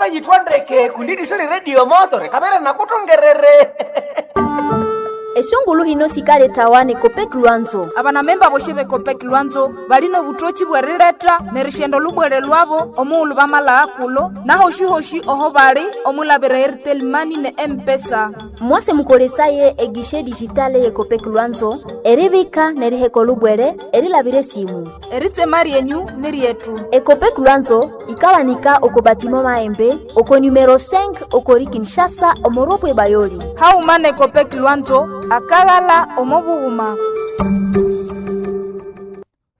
Ukayithwa ndeke kundi eriso lyeredio moto rikabere nakuthongerere. Esungulu hino sikaletawa ne Copec Lwanzo. Abanamemba boshe bekopeki lwanzo balina obutoki bwerileta nerishenda olubwere lwabo omughulhu bamalagha kulo nahoshi-hoshi oho bali omulabira Airtel Money ne M-Pesa. Mwase mukolesaye egishe digitale ye Copec Lwanzo eribika neriheka olubwere erilabira esimu. Eritsema ryenyu ni ryetu. Ecopec Lwanzo ikawanika oko batimo maembe oko numero 5 okori Kinshasa omoropwe bayoli. Hauma ne Copec Lwanzo akaghala omo bughuma.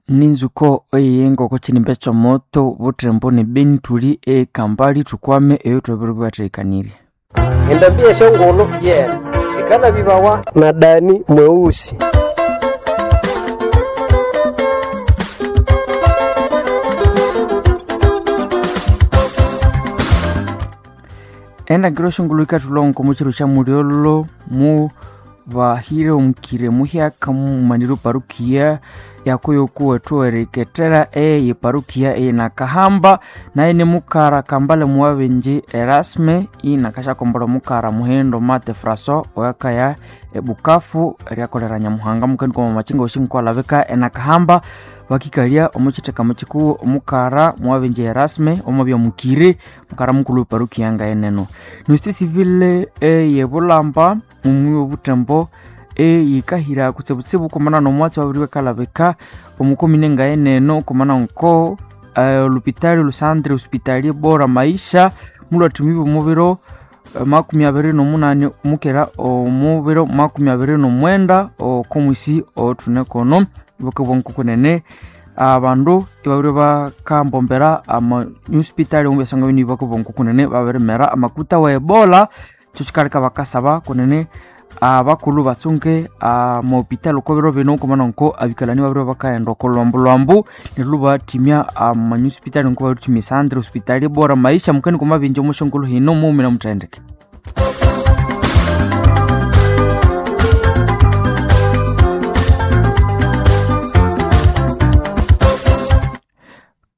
Ninzuko eyenga chilimbe chomoto butembo ne beni tuli ekambali tukwame eyo twebere bwatekanire. Endambi yeshongolo yena sikala bibawa na Dani mweusi. Endangiro shongolo ikatulongo muchiro cha mulyolo mu bahire omukire muhyaka mumaniro parukia yakoyokuwa tuwereketera eye parukia eye nakahamba naye ni mukara kambale muwabenje Erasme inakashakombola mukara muhendo mate Fraso oyakaya ebukafu eryakolera nyamuhanga mukeni kwa mamachinga oshinkwalabika enakahamba bakikalia omuchitheka muchikuwu omukara muwabenje Erasme omwabya mukire mukara mukulu parukia ngaeneno nusiti civile eyebulamba mumwi obutembo eyikahira kutsibutsibu kumana nomwatsi wabiri wekalabika omukomine ngaeneno kumana nko olupitali lusandre hospitalier bora maisha mulwathumibwa omubiro 28 mukera omubiro 29 okomwisi othunekono bukabwa nkokunene abandu ibabiri bakambombera ama hospitali omubyasanga bini bakabwa nkokunene babirimera amakuta wa ebola kyo kikaleka bakasaba kunene abakulhu batsunge amahopitali oko biro bino kumana nko abikalani babiri bakaghenda oko lwambu lwambu neryo lubathimya amanyusipitali nko bathimya esandre hospitali bora maisha mukeni kumabinja omushongolo hino mughumira muthendeke.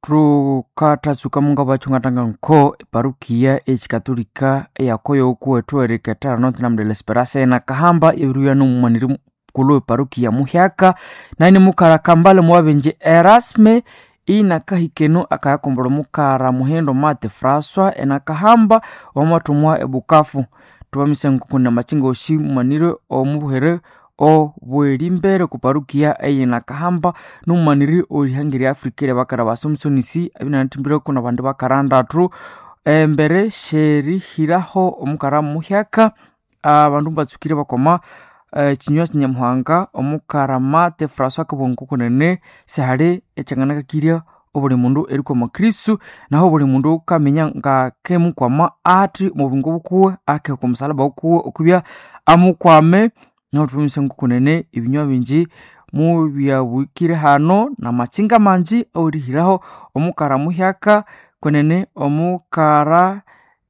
Thukathatsuka munga bachungatanga nko eparukia ekikatolika eyakoyoku ethuwereketera Notre Dame de l'Esperance enakahamba ebiribya nomumaniri mukulhu weparukia muhyaka naye nimukara kambale muwabenje Erasme inakahikeno akayakombolha omukara muhendo Mate Francois enakahamba wamathumwa ebukafu. Thubamise nkokuna amachinga osi mumanire omubuhere obwerimbere kuparukia eyenakahamba nomumaniri orihanga erya Africa eryabakara basomsonisi abinanathimbireko nabandu bakarandatu embere syerihiraho omukara muhyaka abandu mbatsukire bakoma ekinywa kinyamuhanga omukara Mate Francois akabugha nkokunene sihali ekyanganakakirya obuli mundu erikwama Kristu naho obuli mundu kaminya ngakemukwama athi omubingo bukuwe akeheka omusalaba wukuwe okubya amukwame. Naho thubamise nkokunene ebinywa bingi mubyabwikire hano namatsinga mangi awerihiraho omukara muhyaka kwenene omukara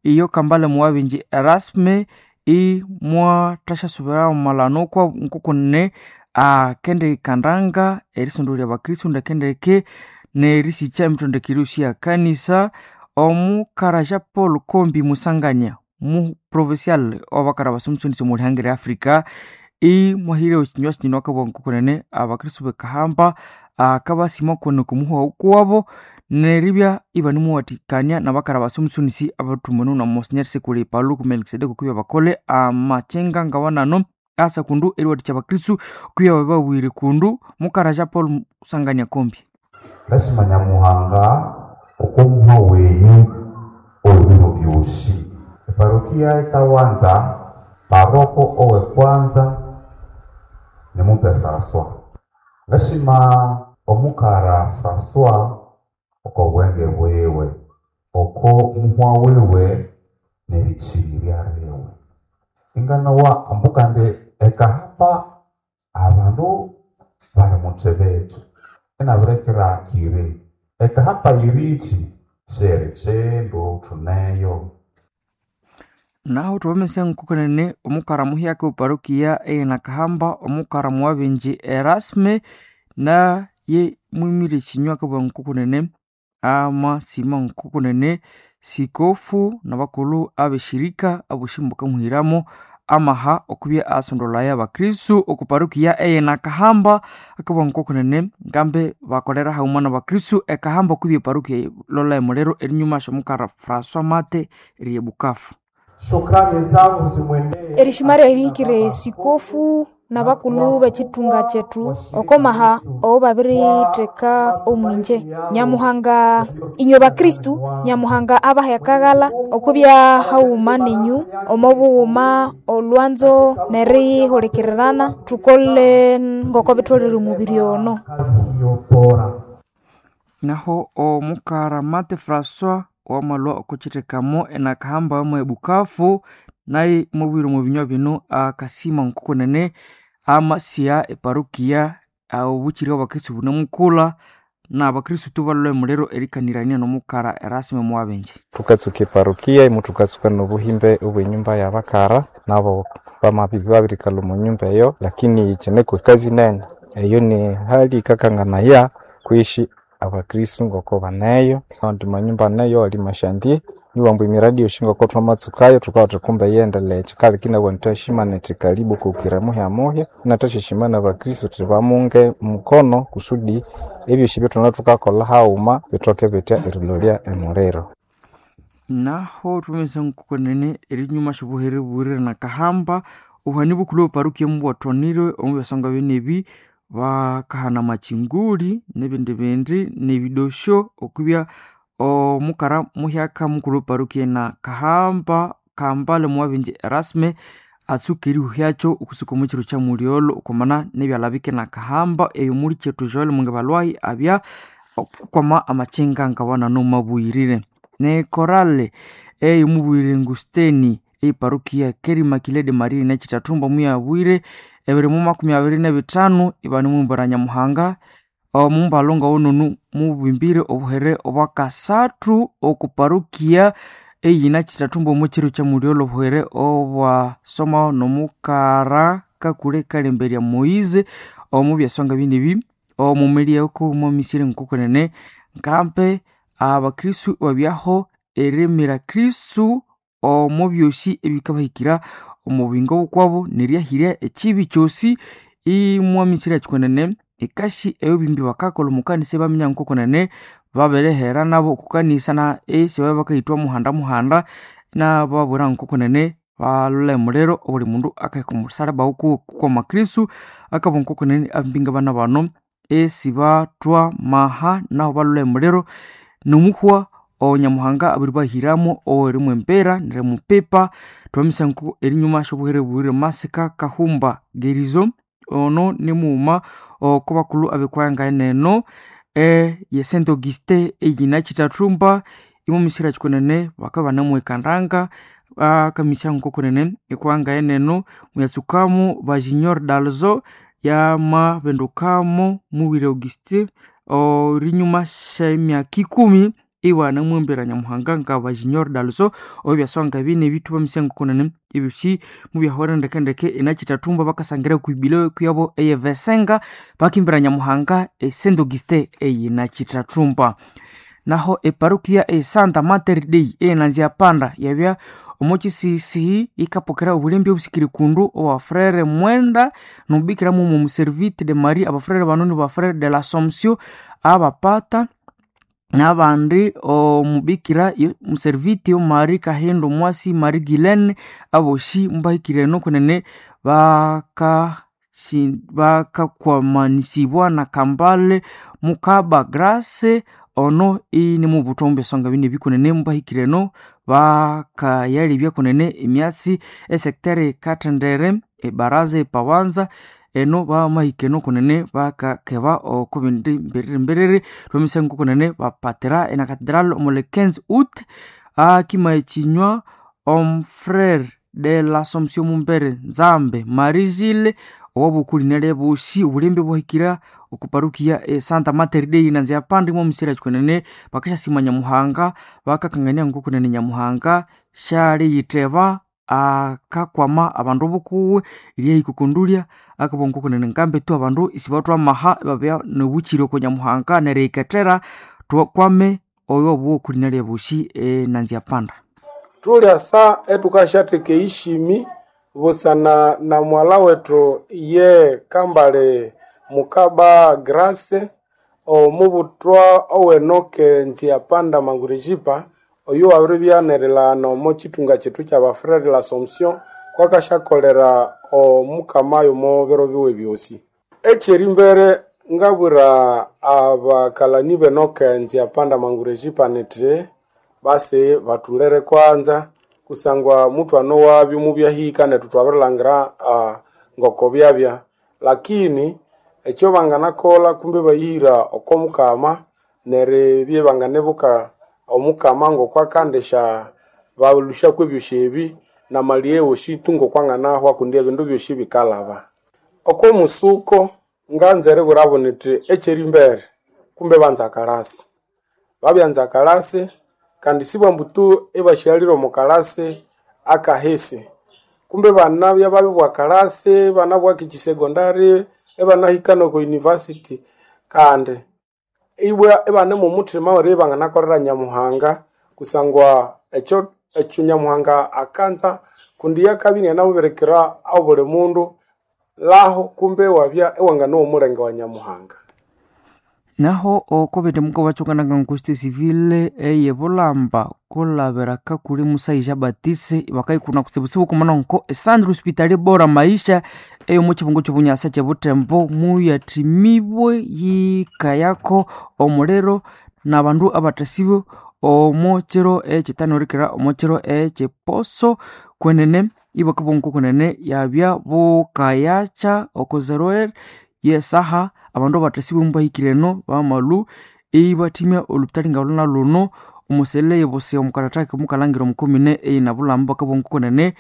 iyo kambale muwabingi Erasme imwathashyasubira omumalano kwa nkokunene akendikandanga erisondolya abakristu ndekendeke nerisikya emitondekere yosi ya kanisa. Omukara Jean Paul Kombi Musanganya mu provincial wabakara basomsonisi omulihanga erya Africa imwahire ekinywa kino akabugha nkokunene abakristu bekahamba akabasima kwene okumuhwa kuwabo neribya ibanimuwathikania nabakara basomsonisi abathumene na Monsignor Sekule Paluku Melkisedeki okubya bakole amakyenga ngawanano asa kundu eriwathikya abakristu okubya babawire kundu. Mukara Jean Paul Musanganya Kombi. Lasima Nyamuhanga okomuhwa wenyu owebiro byosi. Eparokia ekawanza paroko owe kwanza nimumpe Francois. Lasima omukara Francois oko bwenge bwiwe oko muhwa wiwe nerikyirirya liwe. Inganowa ambukande ekahamba abandu bali muthebethu inabirekera akire ekahamba yirichi sheri chindu thuneyo. Naho thubamese nkokunene omukara muhyaka weparokia eyenakahamba omukara muwabenje Erasme naye mwimire ekinywa akabugha nkokunene amasima nkokunene. Sikofu nabakulhu abeshirika aboshi mukamuhiramo amaha okubya asondolaya abakristu okuparukiya eye nakahamba akabugha ngokunene ngambe bakolera haghuma nabakristu ekahamba okubya eparukiya lola emuliro erinyuma syomukara François Mate eriye Bukavu. Shukrani zangu zimwendee Erishima erihikire sikofu nabakulhu b'ekitunga kyethu okomaha owo babiritheka omwinje Nyamuhanga inywe bakristu Nyamuhanga abaha akaghala okubya haghuma nenyu omo bughuma olwanzo nerihulikirirana thukole ngoko bitholere omubiri ono. kazi hiyo bora. Naho omukara Mate François wamalwa okukyithekamo enakahamba yomo ebukavu naye mubwire omu binywa bino akasima nkokunene amasiya eparukiya obukyiri obwabakristu bunemukulha nabakristu tubalolha emuliro erikanirania nomukara Erasme Muwabenje. Tukatsuka eparukiya imu tukatsuka nobuhimbe obwenyumba yabakara nabo bamabirikalha omu nyumba eyo, lakini kyineko ekazi nene eyo ni hali ikakanganaya kwishi abakristu ngoko baneyo andi manyumba aneyo ali mashandie niwambu emiradi yosi ngoko twamatsukayo thukabya kumbe yendeleye kyikaleka inabugha indi thwashimana indi karibu kukira muhya muhya inathwashishimana abakristu thuthi bamunge mukono kusudi ebyosi ebyethuna thukakolha haghuma bithoke bitya erilolya emuliro. Naho thwamanyisa nkokunene erinyuma syobuhere buwirire nakahamba obuhani bukulhu obuparukiya mubwathwanirwe omu byasonga byenebi bakahana amakyinguli nebindi bindi nebidosyo okubya omukara muhyaka mukulhu weparukiya nakahamba Kambale Muwabenje Erasme atsuka erihuhyakyo okusuka omu kiro kya mulyolho okwamana nebyalabike nakahamba eyo muli kyethu Joel Mungabalwahi abya okukwama amakyinga ngawana nomabuyirire nekorale eyomubuyirire Ngusteni eyiparukiya Keri Immaculée de Maria nekyithathumba muyabwire ebiri mu 25 ibanemwimbira Nyamuhanga omumbalhu ngawononu mubimbire obuhere obwakasathu okuparukiya eyina kyithathumba omu kiro kya mulyolho obuhere obwasomaho nomukara kakule kalemberya Moise omu byasonga binebi omumilyeko mwamisire nkokunene nkampe abakristu babyaho erimira Kristu omu byosi ebikabahikira omu buyingo bukwabo neryahirya ekibi kyosi imwamisire kyikunene ekasi eyobimbi bakakolha omukanisa ibaminya nkokunene babirihera nabo okukanisa na esibabya bakayithwa muhanda muhanda nababwira nkokunene balolha emuliro obuli mundu akaheka omusalaba wukuwe kukwama Kristu akabugha nkokunene abambinga bana bano esibathwa maha naho balolha emuliro nomuhwa onyamuhanga abiribahiramo owerimwembera nerimupipa twamisa nko erinyuma syobuhere buwire masika kahumba gerizo ono nimughuma oko bakulhu abekwaya eneno ye Saint Augustin eyina kyithathumba imwamisira kyikunene bakabya ibanemuhikandanga akamisia nkokunene ekwanga eneno muyatsukamo ba Junior Dalzo yamabindukamo mubwire Augustin erinyuma syemyaka ikumi ibanamwembera Nyamuhanga nga ba Junior Dalzo obyasonga bine ebithu bamisia nkokunene ebyosi mubyahwera ndekendeke enakyithathumba bakasangira kwibilo kuyabo eyevesenga bakimbira Nyamuhanga e Saint Augustin eyinakyithathumba. Naho eparukiya e Santa Mater Dei eyenanzya panda yabya omo kyisisihi yikapokera obulembe obusikiri kundu owa Frere Mwenda nobubikira mumo omuservite de Maria abafrere bano ni bafrere de l'Assomption abapata nabandi omubikira muservite Marie Kahindo Mwasi Marie Guylaine aboshi mubahikire nokunene bakakwamanisibwa na Kambale Mukaba Grace ono ini mubuthwa mubyasonga bine bikunene mubahikire eno bakayalibya kunene emyatsi esekiteri kathendere ebaraza epawanza eno bamahika eno kunene bakakeba oko bindi mbiriri mbiriri twamisa nkokunene bapatira ena cathedral omu le 15 août akima ekinywa omufrere de l'Assomption Mumbere Nzambe Marie Gilles owabukuli nalebosi obulembe bwahikira okuparukiya e Santa Mater Dei nanzya pandi mwomusira kyikunene bakasyasima Nyamuhanga bakakangania nkokunene Nyamuhanga syaliyitheba akakwama abandu bukuwe eryahika okondulya akabugha nkokunene ngambe tu abandu isibathwa amaha ibabya nobukyiri oko Nyamuhanga neriyikethera thwakwame Oyo obuwo kulina lyabushi enanzia panda. Tulyasa etukasyatheka eyishimi busana na mwala wethu ye Kambale Mukaba Grace omubuthwa owenoke Nziapanda Mangurejipa oyo wabiribya nerilhana omo kithunga kyethu kyabafurere l'Assomption kwakasyakolera omukama yomo biro biwe byosi. Ekyerimbere ngabwira abakalani benoke Nziapanda Mangurejipa nithi basi bathulere kwanza kusangwa muthwana wabyo mubyahika nethu twabirilhangira ngoko byabya, lakini ekyo banganakolha kumbe bayihira oko mukama neribya banganibuka omukama ngoko akandisya balusyaku ebyosi ebi namalighe wosi tu ngoko anganahwa kundi ebindu byosi bikalhaba. Oko musuko nganza eribwirabo nithi ekyerimbere kumbe banza kalasi, babyanza kalasi kandi sibwambu tu ibasyalire omo kalasi akahisi, kumbe banabya babibwa kalasi banabwa kekisegondari ibanahika noko university kandi ibwa ibane momuthima weribya ibanganakolera Nyamuhanga kusangwa ekyo Nyamuhanga akanza kundi yakabya inianamubirikira obuli mundu laho kumbe iwabya iwanganowa omulenge wa Nyamuhanga. Naho okobete muko bachokananga nkoste civile eye bulamba kulabira kakuli musaija Batise bakaikuna kutsibutsibu kumana nko esandro hospitali bora maisha eyo mu kibungo ky'obunyasa kyebutembo muyathimibwe yikayako omuliro n'abandu abathasibwe omo kiro ekyitanurikira omo kiro ekyiposo kwenene ibakabongo kwenene yabya bukayakya oko 0 yesaha abandu abathasibwe mubahikireno bamalu ibathimya olupitali nga luno omusele yebose omukarataki mukalangira omukomine eyinabulamba bakabongo kwenene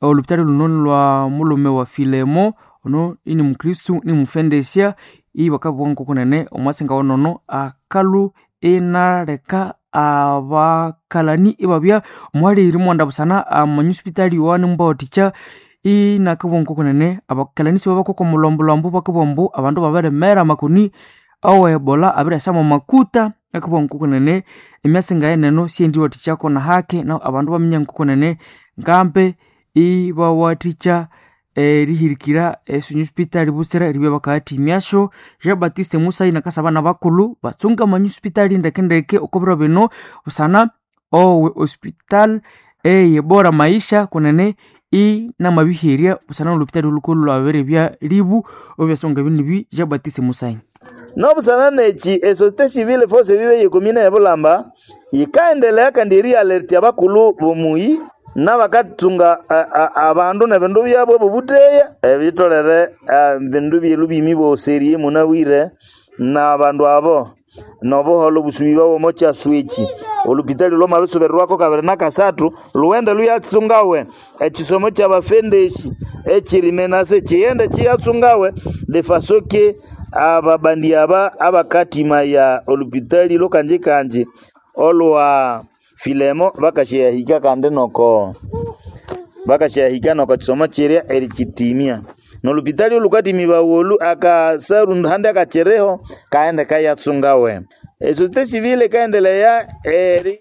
olupitali luno lwa mulume wa Filemo ono ini mukristu ni mufendesya ibakabongo kwenene omwasinga wonono akalu inaleka abakalani ibabya omuhali mwanda busana amanyusipitali wane mubawathikya inakabongo kunene abakalani sibabakoko mulombolombo bakabombo abandu babiremera amakoni awe ebola abiryasama makuta akabongo kunene emyasi ngayeneno syendiwathikyako na hake na abandu baminya nkokunene ngambe ibawathikya erihirikira esunyusipitali butsira eribya bakayathimyasyo. Jean Baptiste Musayi nakasaba nabakulhu batsunge amanyusipitali ndekendeke oko biro bino busana owe hospital eye bora maisha kunene inamabiherya busana nolupitali lhukulhu lwabiribya libu obyasonga binibi. Jean Baptiste Musayi nobusana neki esociete civile force vive yekomine yebulamba yikaendelea kandi erialertia abakulhu bomuyi nabakathunga abandu nebindu byabo bobuteya ebitolere bindu byelu bimi boserie munabwire nabandu abo nobuholo obusubi bwabo omo kyasu eki olupitali lwamabisubirirwako kabiri nakasathu lughende luyatsungawe ekisomo kyabafendeshi ekirimenase kighende kiyatsungawe defasoke ababandi aba abakatima ya olupitali lwakanjikanji olwa Filemo bakasyahika kandi noko bakasyahika noko kisomo kirya erikitimya nolupitali olukatimibawa olu akasarundu handi akakiriho kaghende kayatsungawe esociete civile ikaendelea eri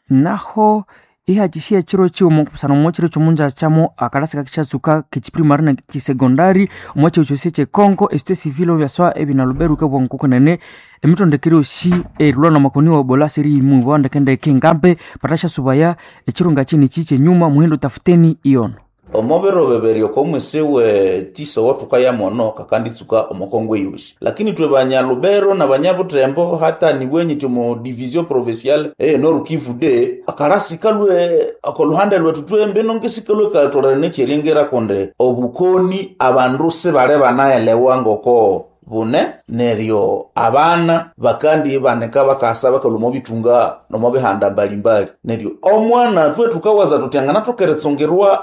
naho ihakishiya ekiro kiwuma busana omo kiro kyomunjakyamo akalasi kakishatsuka kekiprimary na kisegondary omo kiro kyosi ekyekongo esociete civile obyaswa ebinaluberu kabwangu kunene emitondekere yosi erilwa namakoni wa ebola siriyimibwa ndekendeke ngambe patashyasubaya ekiro ngakiniki kyenyuma muhindo tafuteni iyono. Omo biro bibiri oko mwisi we tisa owathukaya mono kakanditsuka omo Kongo eyosi, lakini ithwe banyalubero na banyabutembo hata nibwenyi omu division provinciale eye Nord Kivu de akalasi kalwe oko luhande lwethu twembi nongesi kalwe katolere nekyeringira kundi obukoni abandu sibali banaelewa ngoko bune neryo abana bakandi ibanika bakasa bakalwa omo bithunga nomo bihanda mbalimbali neryo omwana thwe thukawaza thuthi anganathoka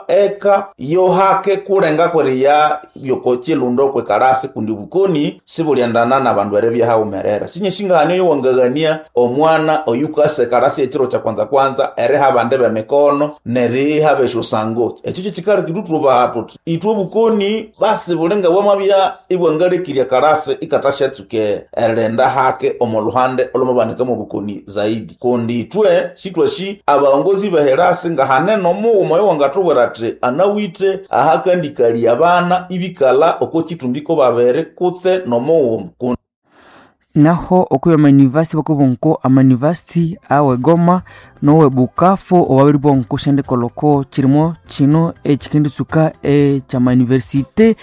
eka yohake kulenga kweriya byoko kwekalasi kundi bukoni sibulyendana nabandu eribya haghumerera sinyesingahania yowangaghania omwana oyukasa ekalasi ekiro kya kwanza kwanza eriha abandi bemikono neriha besyosango ekyo kyikaleka ithwe thubaha thuthi ithwe obukoni basi bulinga bwamabya ibwangalekirya kalasi. herasi ikatashatsuke erilinda hake omo luhande olomabanika mubukoni zaidi. Kundi itwe sitwashi abaongozi beherasi ngahanene omughuma oyo wangathubwira athi anawithe ahakandikalia abana ibikala oko kitumbiko babere kutse nomughuma. Naho okuya amayunivasiti bakubonko amayunivasiti awe Goma nowe Bukavu owabiri bonko shendikoloko chirimo chino echikenditsuka eky'amayunivesite.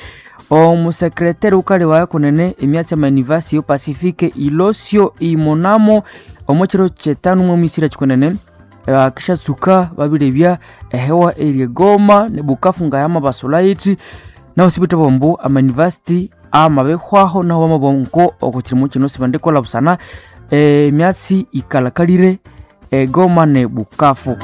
Omusekretari ukali kunene emyatsi y'amayunivasiti yo Pacifique Ilosio Imonamo omo chiro kyetanu mwemisira chikunene akishatsuka babirebya ehewa eri Goma ne Bukavu ngayama basulayithi naho sibithe bombu amayunivasiti amabehwaho naho bamabonko oko kirimo kino sibandikola busana emyatsi ikalakalire Goma ne Bukavu.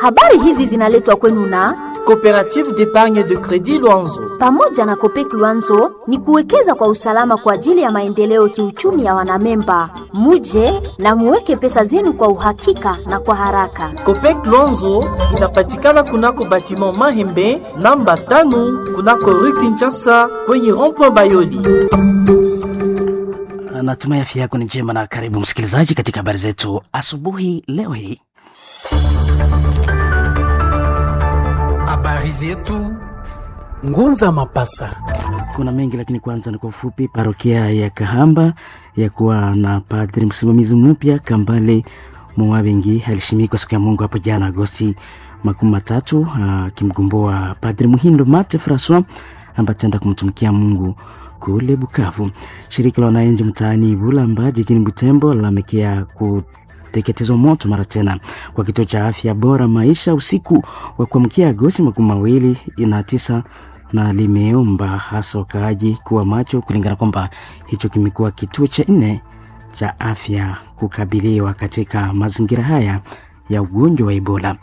Habari hizi zinaletwa kwenu na Coopérative d'épargne de crédit Luanzo. Pamoja na Copec Luanzo ni kuwekeza kwa usalama kwa ajili ya maendeleo kiuchumi ya wanamemba. Muje na muweke pesa zenu kwa uhakika na kwa haraka. Copec Luanzo inapatikana kunako batiment Mahembe namba 5 kunako Rue Kinshasa kwenye rond-point Bayoli. Natumai afya yako ni njema na karibu msikilizaji katika habari zetu asubuhi leo hii. Habari zetu Ngunza Mapasa. Kuna mengi lakini kwanza ni kwa ufupi. Parokia ya Kahamba ya kuwa na padri msimamizi mpya Kambale Mwabengi alishimikwa siku ya Mungu hapo jana Agosti 30, akimgomboa Padri Muhindo Mate Francois ambaye ataenda kumtumikia Mungu kule Bukavu. Shirika la wananchi mtaani Bulamba jijini Butembo lalamikia kuteketezwa moto mara tena kwa kituo cha afya bora maisha usiku wa kuamkia Agosti 29 na limeomba hasa wakaaji kuwa macho kulingana kwamba hicho kimekuwa kituo cha 4 cha afya kukabiliwa katika mazingira haya ya ugonjwa wa Ebola.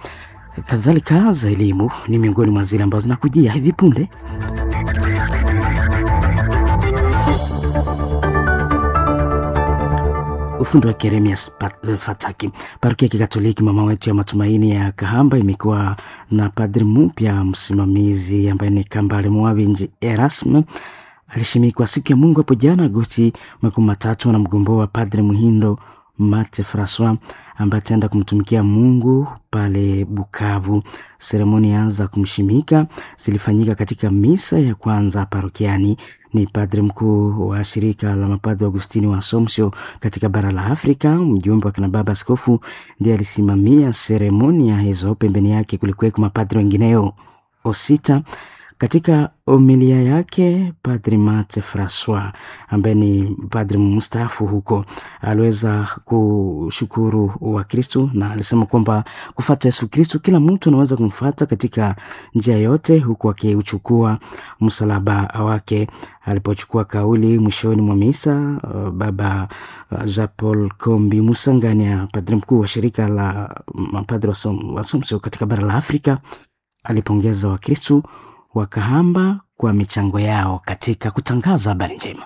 Kadhalika za elimu ni miongoni mwa zile ambazo zinakujia hivi punde. Ufundi wa Jeremias Fataki. Parokia ya Kikatoliki Mama Wetu ya Matumaini ya Kahamba imekuwa na padri mpya msimamizi ambaye ni Kambale Mwabinji Erasme. Alishimikwa siku ya Mungu hapo jana Agosti 30 na mgomboa wa Padri Muhindo Mate Francois ambaye ataenda kumtumikia Mungu pale Bukavu. Seremoni za kumshimika zilifanyika katika misa ya kwanza parokiani. Ni padri mkuu wa shirika la mapadri Augustini wa Assumption katika bara la Afrika. Mjumbe wa kina baba askofu ndiye alisimamia seremonia hizo. Pembeni yake kulikuweko mapadri wengineo osita. Katika homilia yake Padri Mate Francois ambaye ni padri mstaafu huko aliweza kushukuru Wakristo na alisema kwamba kufuata Yesu Kristo kila mtu anaweza kumfuata katika njia yote, huku akiuchukua msalaba wake. Alipochukua kauli mwishoni mwa misa, Baba Jean Paul Kombi Musanganya, padri mkuu wa shirika la mapadri wa Assumption katika bara la Afrika, alipongeza Wakristo wa Kahamba kwa michango yao katika kutangaza habari njema.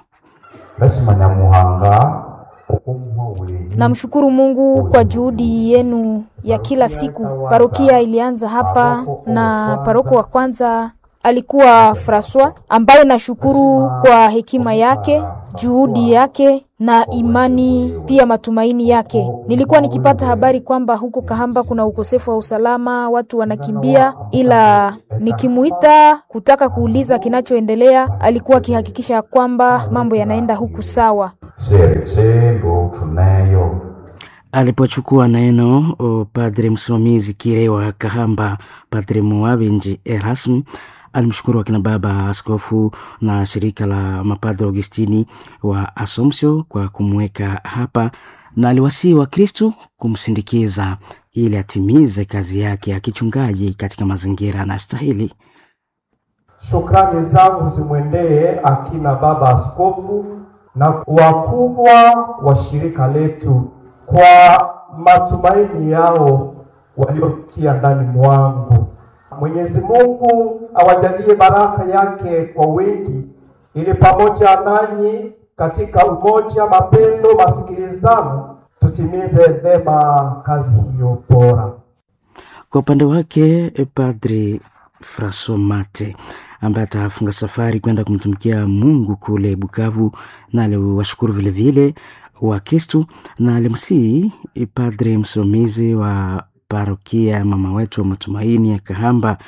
Namshukuru Mungu kwa juhudi yenu ya kila siku. Parokia ilianza hapa na paroko wa kwanza alikuwa Francois, ambaye nashukuru kwa hekima yake, juhudi yake na imani pia matumaini yake. Nilikuwa nikipata habari kwamba huko Kahamba kuna ukosefu wa usalama, watu wanakimbia, ila nikimuita kutaka kuuliza kinachoendelea, alikuwa akihakikisha kwamba mambo yanaenda huku sawa. Alipochukua neno padre msimamizi kire wa Kahamba, Padre Muabenji Erasm alimshukuru akina baba askofu na shirika la mapadre Augustini wa Assumption kwa kumweka hapa, na aliwasihi Wakristo kumsindikiza ili atimize kazi yake ya kichungaji katika mazingira anayostahili. Shukrani zangu zimwendee akina baba askofu na wakubwa wa shirika letu kwa matumaini yao waliotia ndani mwangu. Mwenyezi Mungu awajalie baraka yake kwa wingi, ili pamoja nanyi katika umoja, mapendo, masikilizano tutimize vema kazi hiyo bora. Kwa upande wake Padri Francois Mate ambaye atafunga safari kwenda kumtumikia Mungu kule Bukavu, na aliwashukuru vilevile Wakristu na alimsihi padre msimamizi wa parokia mama wetu wa matumaini ya Kahamba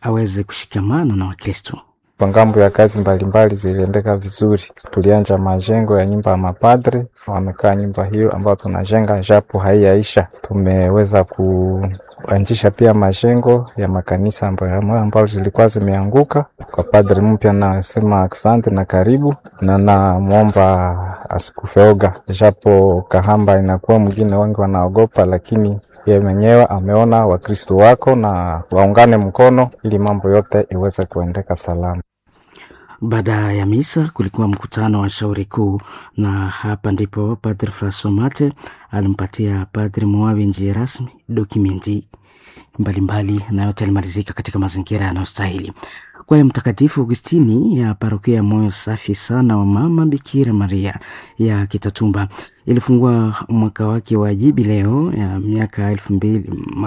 aweze kushikamana na Wakristo. Kwa ngambo ya kazi mbalimbali ziliendeka vizuri. Tulianja majengo ya nyumba ya mapadre, wamekaa nyumba hiyo ambayo tunajenga japo haiyaisha. Tumeweza kuanzisha pia majengo ya makanisa ambayo zilikuwa zimeanguka. Kwa padre mpya nasema asante na karibu, na namwomba asikufeoga, japo Kahamba inakuwa mwingine wengi wanaogopa, lakini ye mwenyewe ameona Wakristo wako na waungane mkono ili mambo yote iweze kuendeka salama. Baada ya misa kulikuwa mkutano wa shauri kuu, na hapa ndipo Padre Francois Mate alimpatia Padre Mwawi njia rasmi dokumenti mbalimbali, na yote alimalizika katika mazingira yanayostahili. Kwa hiyo Mtakatifu Augustini ya parokia ya moyo safi sana wa Mama Bikira Maria ya Kitatumba ilifungua mwaka wake wa jubileo ya miaka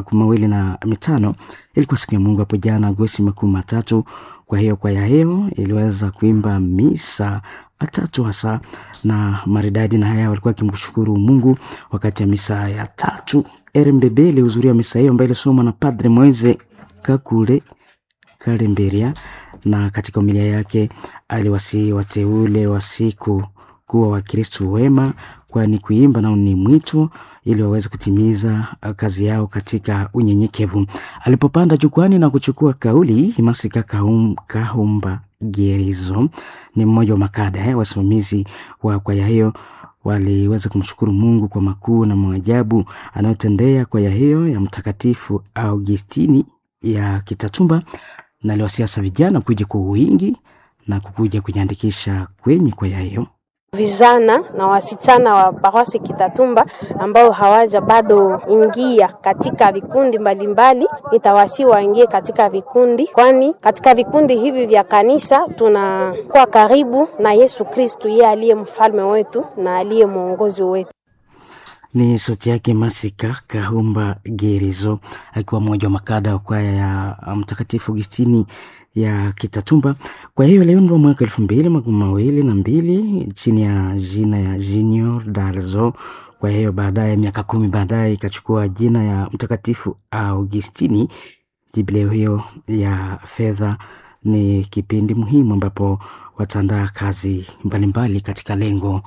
2025. Ilikuwa siku ya Mungu hapo jana Agosti 30. Kwa hiyo kwaya hiyo iliweza kuimba misa tatu hasa na maridadi, na haya walikuwa wakimshukuru Mungu wakati ya misa ya tatu. RMBB ilihudhuria misa hiyo ambayo ilisomwa na Padre Moise Kakule Kalemberia, na katika homilia yake aliwasihi wateule wa siku kuwa Wakristo wema, kwani kuimba nao ni mwito ili waweze kutimiza kazi yao katika unyenyekevu. Alipopanda jukwani na kuchukua kauli, Masika Kahumba Gerizo ni mmoja wa makada wasimamizi wa kwaya hiyo waliweza kumshukuru Mungu kwa makuu na maajabu anayotendea kwaya hiyo ya Mtakatifu Augustini ya Kitatumba, na aliwasiasa vijana kuja kwa wingi na kukuja kujiandikisha kwenye kwaya hiyo. Vijana na wasichana wa parosi Kitatumba ambao hawaja bado ingia katika vikundi mbalimbali, nitawasi waingie katika vikundi, kwani katika vikundi hivi vya kanisa tunakuwa karibu na Yesu Kristu, yeye aliye mfalme wetu na aliye mwongozi wetu. Ni sauti yake Masika Kahumba Gerizo akiwa mmoja wa makada wa kwaya ya Mtakatifu Augustini ya Kitatumba. Kwa hiyo iliundwa mwaka 2022 chini ya jina ya Junior Dalzo. Kwa hiyo baadaye, miaka 10 baadaye, ikachukua jina ya Mtakatifu Augustini. Jubileo hiyo ya fedha ni kipindi muhimu ambapo wataandaa kazi mbalimbali katika lengo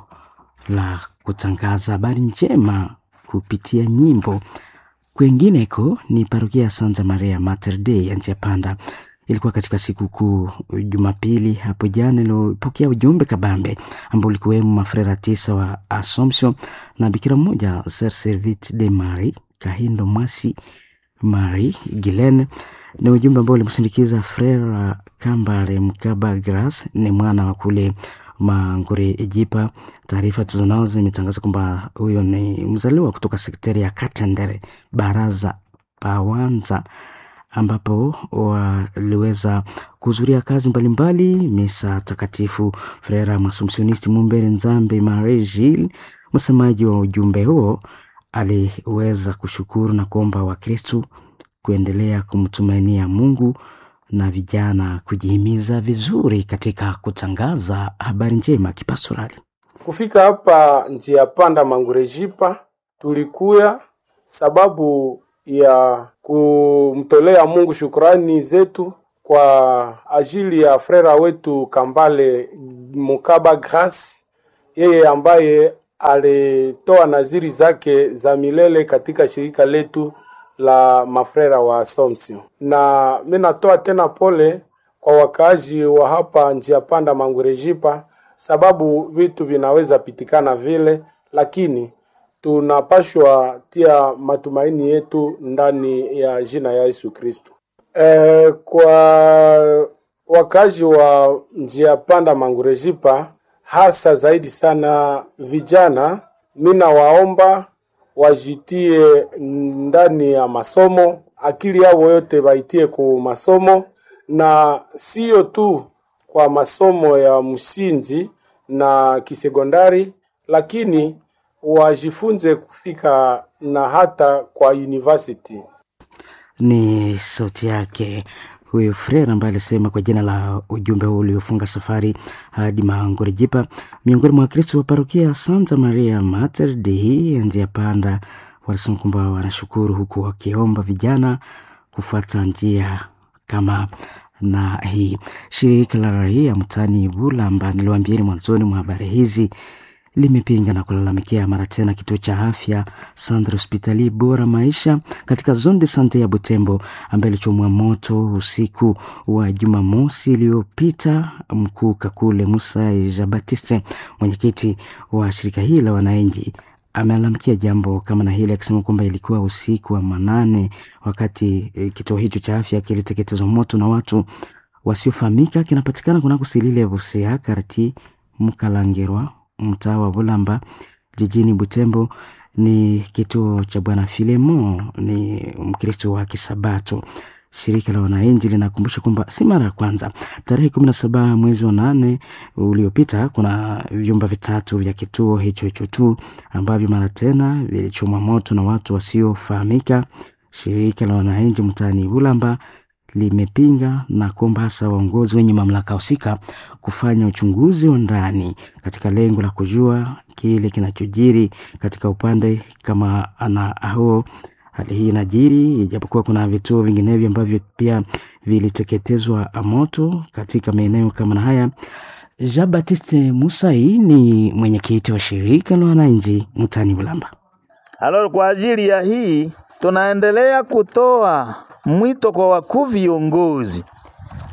la kutangaza habari njema kupitia nyimbo. Kwingineko ni parokia ya Santa Maria Mater Dei ya Njia Panda. Ilikuwa katika sikukuu Jumapili hapo jana ilipokea ujumbe kabambe ambao ulikuwemo mafrera 9 wa Assumption na bikira mmoja Sir Servite de Marie Kahindo Mwasi Marie Gilene. Ni ujumbe ambao ulimsindikiza Frera Kambale Mkaba Grace, ni mwana wa kule Mangure Ejipa. Taarifa tulizonazo zimetangaza kwamba huyo ni mzaliwa kutoka sekteri ya Katendere Baraza Pawanza, ambapo waliweza kuhudhuria kazi mbalimbali, misa takatifu. Frera Masumsionisti Mumbere Nzambe Marie Gilles, msemaji wa ujumbe huo, aliweza kushukuru na kuomba Wakristu kuendelea kumtumainia Mungu na vijana kujihimiza vizuri katika kutangaza habari njema kipastorali. Kufika hapa njia panda Mangurejipa, tulikuya sababu ya kumtolea Mungu shukrani zetu kwa ajili ya frera wetu Kambale Mukaba Grace, yeye ambaye alitoa naziri zake za milele katika shirika letu la mafrera wa Assumption. Na mimi natoa tena pole kwa wakaaji wa hapa njia panda Mangurejipa, sababu vitu vinaweza pitikana vile, lakini tunapashwa tia matumaini yetu ndani ya jina ya Yesu Kristo. Kwa wakazi wa njia panda Mangurejipa, hasa zaidi sana vijana, mina waomba wajitie ndani ya masomo, akili yao yote waitie ku masomo, na sio tu kwa masomo ya msingi na kisekondari, lakini wajifunze kufika na hata kwa university. Ni sauti yake Huyo Frere ambaye alisema kwa jina la ujumbe huu uliofunga safari hadi Mangurejipa, miongoni mwa Wakristo wa parokia Santa Maria Mater Dei ya njia panda, walisema kwamba wanashukuru huku wakiomba vijana kufuata njia kama na hii. Shirika la raia mtaani Bulamba, niliwaambieni mwanzoni mwa habari hizi, limepinga na kulalamikia mara tena kituo cha afya Centre Hospitalier Bora Maisha katika zone de sante ya Butembo ambaye ilichomwa moto usiku wa Jumamosi iliyopita. Mkuu Kakule Musa Jean Baptiste, mwenyekiti wa shirika hili la wananchi, amelalamikia jambo kama na hili akisema kwamba ilikuwa usiku wa manane wakati kituo hicho cha afya kiliteketezwa moto na watu wasiofahamika. Kinapatikana kunako Silile Busia karti Mkalangirwa, mtaa wa Bulamba jijini Butembo. Ni kituo cha Bwana Filemo, ni Mkristo wa Kisabato. Shirika la wananchi linakumbusha kwamba si mara ya kwanza. Tarehe 17 mwezi wa 8 uliopita, kuna vyumba vitatu vya kituo hicho hicho tu ambavyo mara tena vilichomwa moto na watu wasiofahamika. Shirika la wananchi mtaani Bulamba limepinga na kuomba hasa waongozi wenye mamlaka husika kufanya uchunguzi wa ndani katika lengo la kujua kile kinachojiri katika upande kama ana huo. Hali hii inajiri ijapokuwa kuna vituo vinginevyo ambavyo pia viliteketezwa moto katika maeneo kama na haya. Jean Baptiste Musai ni mwenyekiti wa shirika la wananchi mtaani Bulamba. Alors, kwa ajili ya hii tunaendelea kutoa mwito kwa wakuu viongozi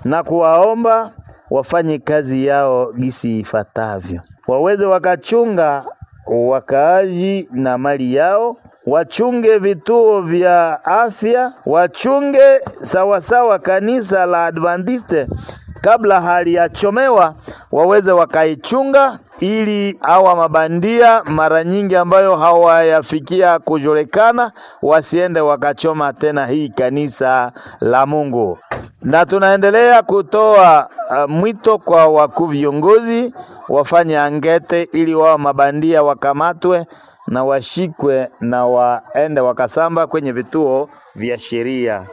na kuwaomba wafanye kazi yao gisi ifatavyo, waweze wakachunga wakaaji na mali yao, wachunge vituo vya afya, wachunge sawasawa kanisa la Adventiste kabla haliyachomewa, waweze wakaichunga ili hawa mabandia mara nyingi ambayo hawayafikia kujulikana wasiende wakachoma tena hii kanisa la Mungu. Na tunaendelea kutoa mwito kwa wakuu viongozi wafanye angete ili wao mabandia wakamatwe na washikwe na waende wakasamba kwenye vituo vya sheria.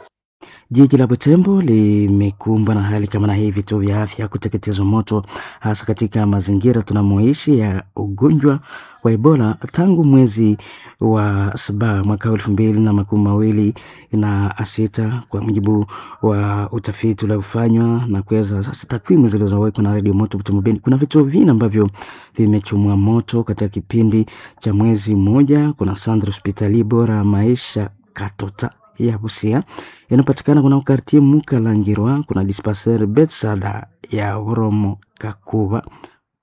Jiji la Butembo limekumbwa na hali kama na hii, vituo vya afya kuteketezwa moto, hasa katika mazingira tunamoishi ya ugonjwa wa Ebola tangu mwezi wa 7 mwaka 2026, kwa mujibu wa utafiti uliofanywa na kuweza sasa takwimu zilizowekwa na Radio Moto Butembo Beni, kuna vituo vingi ambavyo vimechomwa moto katika kipindi cha mwezi mmoja. Kuna Centre Hospitalier Bora Maisha Katota ya Busia inapatikana kuna kartie Mukalangirwa, kuna dispensaire Betsada ya Oromo Kakuba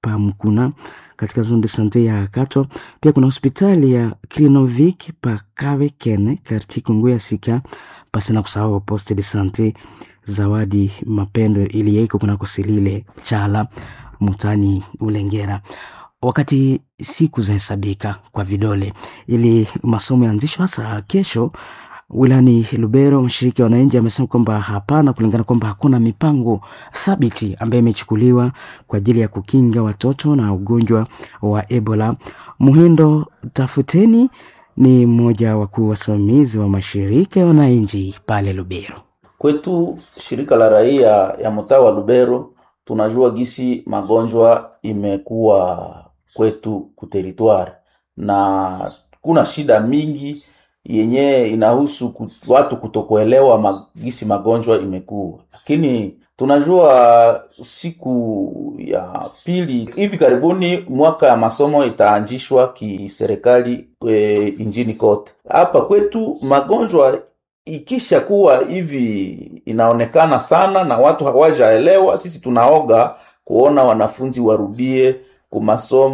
Pamkuna katika zone de sante ya Kato. Pia kuna hospitali ya Krinovik pa Kavekene kartie Kongo ya Sika, pasi na kusahau poste de sante Zawadi Mapendo iliyeko kunako Silile Chala Mutani Ulengera. Wakati siku zahesabika kwa vidole ili masomo yaanzishwe hasa kesho wilani Lubero, mshiriki wa wananchi amesema kwamba hapana, kulingana kwamba hakuna mipango thabiti ambayo imechukuliwa kwa ajili ya kukinga watoto na ugonjwa wa Ebola. Muhindo Tafuteni ni mmoja wa wakuu wasimamizi wa mashirika ya wananchi pale Lubero. Kwetu shirika la raia ya mtaa wa Lubero tunajua gisi magonjwa imekuwa kwetu kuteritwari na kuna shida mingi yenye inahusu watu kutokuelewa gisi magonjwa imekuwa, lakini tunajua siku ya pili hivi karibuni mwaka ya masomo itaanzishwa kiserikali injini kote. Hapa kwetu magonjwa ikisha kuwa hivi inaonekana sana na watu hawajaelewa, sisi tunaoga kuona wanafunzi warudie kumasomo.